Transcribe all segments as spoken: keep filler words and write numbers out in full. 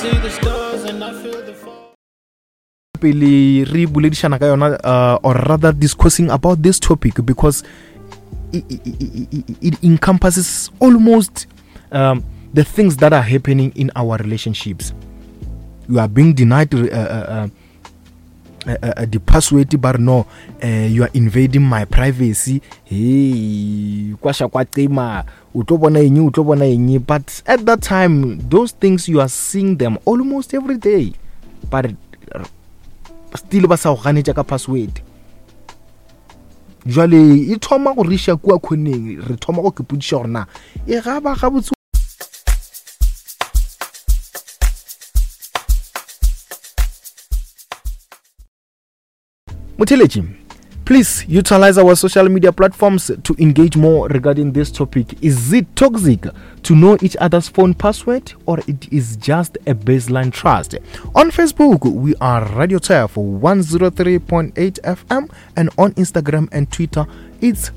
see the stars and I feel the fall. Pele re boledišana ka yona, uh, or rather discussing about this topic, because it, it, it, it encompasses almost um, the things that are happening in our relationships. You are being denied uh, uh, uh, uh, the password, but no, uh, you are invading my privacy. Hey, kwasha kwa tema, o tlo bona eng, o tlo bona eng. But at that time, those things you are seeing them almost every day, but still ba sa go ganetša ka password. Jwale e thoma go riša kua khoneng, re thoma go kepodiša gore na e ga ba gabotse. Motheletši, please utilize our social media platforms to engage more regarding this topic. Is it toxic to know each other's phone password, or it is just a baseline trust? On Facebook, we are Radio Turf one oh three point eight F M, and on Instagram and Twitter, it's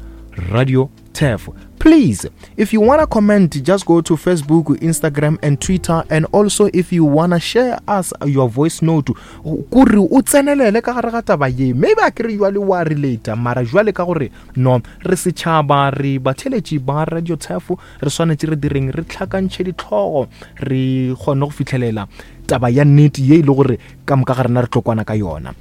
Radio Turf. Please, if you wanna comment, just go to Facebook, Instagram and Twitter. And also, if you wanna share us your voice note, kore o tsenelele ka gare ga taba ye. Maybe a kere jwale wa relate, mara jwale ka gore no, re setšhaba, re batheletši ba Radio Turf, re swanetše re direng, re tlhakantšhe ditlhogo, re kgone go fihlelela taba ya nnete ye e le gore ka moka ga rena re tlo kwana ka yona.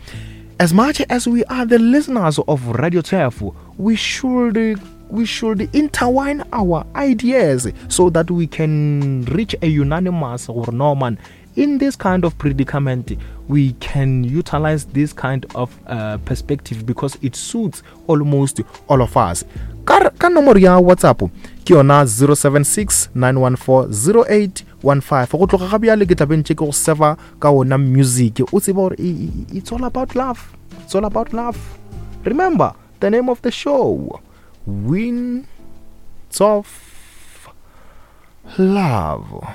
As much as we are the listeners of Radio Turf, we should we should intertwine our ideas so that we can reach a unanimous or no man in this kind of predicament. We can utilize this kind of, uh, perspective because it suits almost all of us. Ka, ka nomoro ya WhatsApp ke yona zero seven six nine one four zero eight one five. Go tloga ga bjale ke tla be ntše ke go serva ka ona music. O tsebe gore e, e, it's all about love. It's all about love. Remember the name of the show, Winds of Love.